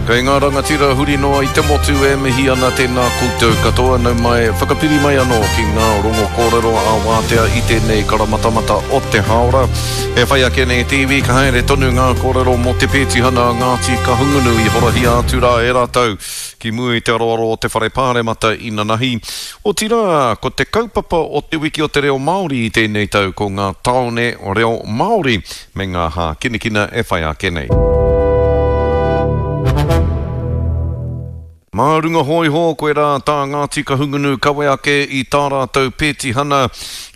Kei ngā rangatira huri noa i te motu e mihi ana tēnā koutou katoa nau mai whakapiri mai anō ki ngā rongo kōrero ā wātea i tēnei karamatamata o te hāora. E whai ake nei te iwi ka haere tonu ngā kōrero mō te pētihana a Ngāti Kahungunu i horahia atu rā e rātou ki mua i te aroaro o te Whare Pāremata inanahi. Otirā, ko te kaupapa o Te Wiki o te Reo Māori i tēnei tau ko ngā tāone reo Māori me ngā hākinakina e whai ake nei. Mā runga hōiho, koirā tā Ngāti Kahungunu kawe ake i tā rātou pētihana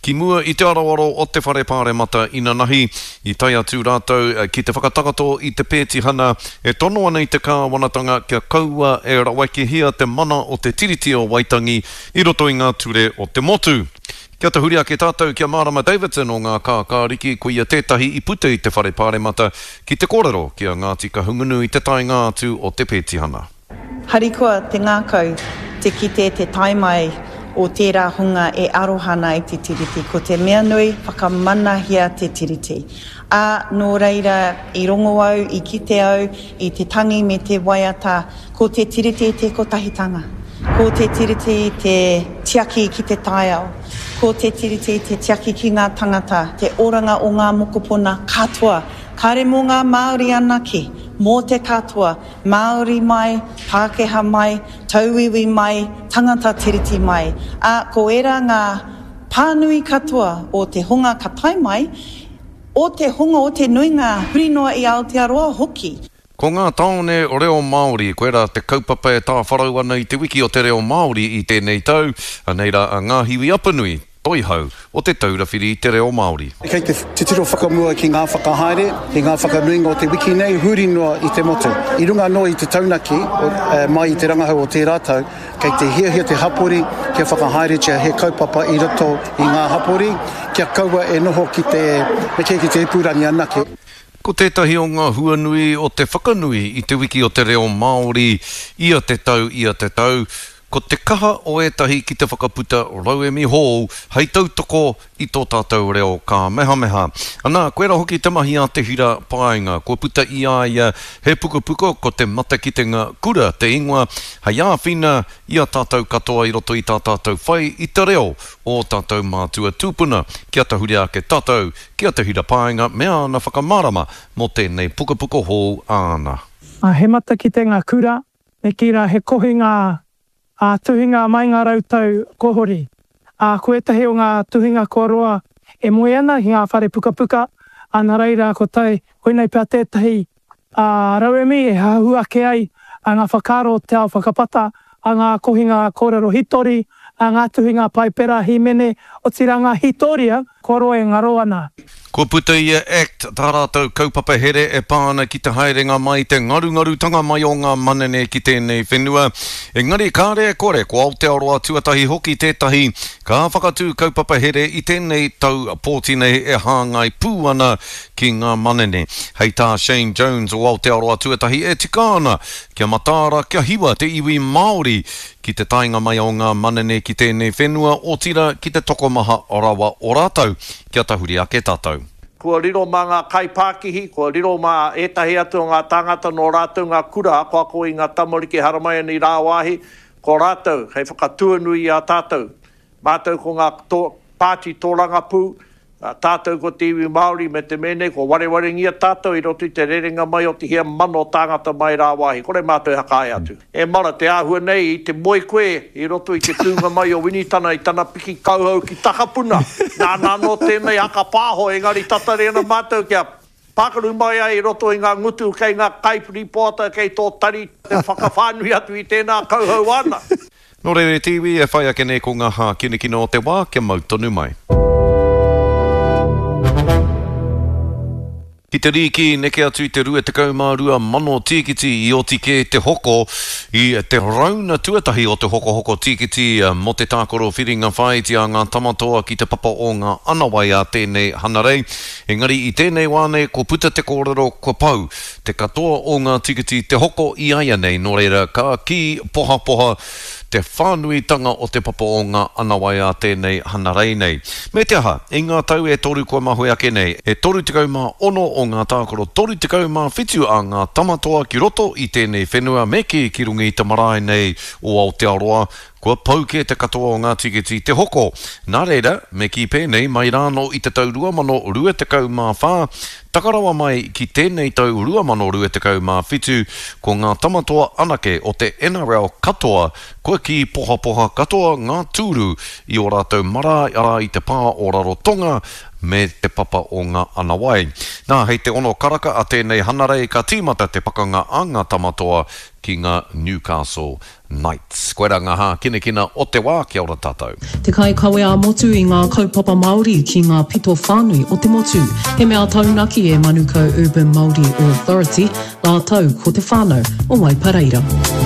ki mua i te aroaro o te Whare Pāremata inanahi. I tae atu rātou ki te whakatakoto i te pētihana e tono ana i te kāwanatanga kia kaua e rawekehia te mana o te Tiriti o Waitangi i roto i ngā ture o te motu. Kia tahuri ake tātou ki a Marama Davidson o Ngā Kākāriki, ko ia tētahi i puta i te Whare Pāremata ki te kōrero ki a Ngāti Kahungunu i te taenga atu o te pētihana. Harikoa te ngākau te kite te tae mai o tērā hunga e aroha ana i te Tiriti. Ko te mea nui, whakamanahia te Tiriti. Ā, nō reira, i rongo au, i kite au i te tangi me te waiata, Ko te Tiriti te kotahitanga. Ko te Tiriti te tiaki ki te taiao. Ko te Tiriti te tiaki ki ngā tangata, te oranga o ngā mokopuna katoa. Kāre mō ngā Māori anake, mō te katoa, Māori mai, Pākehā mai, tauiwi mai, tangata Tiriti mai. Ā, ko ērā ngā pānui katoa o te hunga ka tae mai, o te hunga o te nuinga huri noa i Aotearoa hoki. Ko ngā tāone reo Māori, koirā te kaupapa e tāwharau ana i te wiki o te reo Māori i tēnei tau, anei rā a Ngāhiwi Apanui, Toihau o Te Taura Whiri i te Reo Māori. Kei te titiro whakamua ki ngā whakahaere, ki ngā whakanuinga o te wiki nei, huri noa i te motu. I runga anō i te taunaki mai i te rangahau o tērā tau, kei te hiahia te hapori kia whakahaeretia he kaupapa i roto i ngā hapori, kia kaua e noho ki te, me kī ki te ipurangi anake. Ko tētahi o ngā huanui o te whakanui i Te Wiki o te Reo Māori ia te tau, ia te tau, ko te kaha o ētahi ki te whakaputa rauemi hou hei tautoko i tō tātou reo kāmehameha. Anā, koirā hoki te mahi a Te Hira Paenga, kua puta i a ia he pukapuka ko Te Matakitenga Kura te ingoa, hei āwhina i a tātou katoa i roto i tā tātou whai i te reo o ō tātou mātua tūpuna, kia tahuri ake tātou Ki a Te Hira Paenga me āna whakamārama mō tēnei pukapuka hou āna. Ā, he matakitenga kura, me kī rā he kohinga ā tuhinga mai ngā rautau kua hori. Ā, ko ētahi o ngā tuhinga kua roa e moe ana ki ngā whare pukapuka, ā, nā reira ko tai, koinei pea tētahi ā rauemi e hahu ake ai ngā whakaaro o te ao whakapata, a ngā kohinga kōrero hitori, a ngā tuhinga Paipera, hīmene, otirā ngā hītoria kua roa e ngaro ana. Kua puta i a act tā rātou kaupapa here e pā ana ki te haerenga mai, te ngarungarutanga mai o ngā manene ki tēnei whenua. Engari kāre e kore, ko Aotearoa tuatahi hoki tētahi ka whakatū kaupapa here i tēnei tau pōti nei e hāngai pū ana ki ngā manene. Hei tā Shane Jones o Aotearoa Tuatahi e tika ana kia mataara kia hiwa te iwi Māori ki te taenga mai o ngā manene ki tēnei whenua, otira ki te tokomaha rawa o rātou, kia tahuri ake tātou. Kua riro mā ngā kaipākihi, kua riro mā ētahi atu o ngā tāngata nō rātou ngā kura akoako i ngā tamariki haramai ana i rāwāhi, ko rātou hei whakatuanui i a tātou. Mātou ko ngā pāti tōrangapū, tātou ko te iwi Māori me te mea nei kua warewarengia tātou i roto i te rerenga mai o te hia mano tāngata mai rāwāhi, kore mātou e hakaae atu. E mara, te āhua nei i te moe koe i roto i te tūnga mai o Winitana i tana piki kauhau ki Takapuna. Nāna anō tēnei haka pāho engari tatari ana mātou kia pākaru mai ai i roto i ngā ngutu kei ngā kaipiripoata kei tō tari te whakawhānui atu i tēnā kauhau āna. Nō reira e te iwi, e whai ake nei ko ngā hākinakina o te wā kia mau tonu mai. Ki te rīki, neke atu i te 22 mano tīkiti i oti kē te hoko i te rauna tuatahi o te hokohoko tīkiti mō te tākaro whiringa whāiti a ngā Tamatoa ki te papa o ngā Anawai a tēnei Hanarei. Engari i tēnei wā nei kua puta te kōrero kua pau te katoa o ngā tīkiti te hoko i aianei nō reira ka kī pohapoha. Te whānuitanga o te papa o ngā anawai a tēnei hanarei nei. Me te aha, i ngā tau e toru kua mahue ake nei, e 36 o ngā tākaro 37 a ngā tamatoa ki roto i tēnei whenua me kī ki runga i te marae nei o Aotearoa, kua pau kē te katoa o ngā tiketi te hoko. Nā reira, me kī pēnei, mai rānō i te tau 2024, taka rawa mai ki tēnei tau 2027, ko ngā tamatoa anake o te NRL katoa kua kī pohapoha katoa ngā tūru i ō rātou marae, arā i te pā o Rarotonga me te papa o ngā anawai. Nā, hei te ono karaka a tēnei hanarei ka tīmata te pakanga a ngā tamatoa ki ngā Newcastle Knights. Koirā ngā hākinakina o te wā, kia ora tātou. Te kaikawe ā-motu i ngā kaupapa Māori ki ngā pito whānui o te motu. He mea taunaki e Manukau Urban Māori Authority rātou ko te whānau o Waipareira.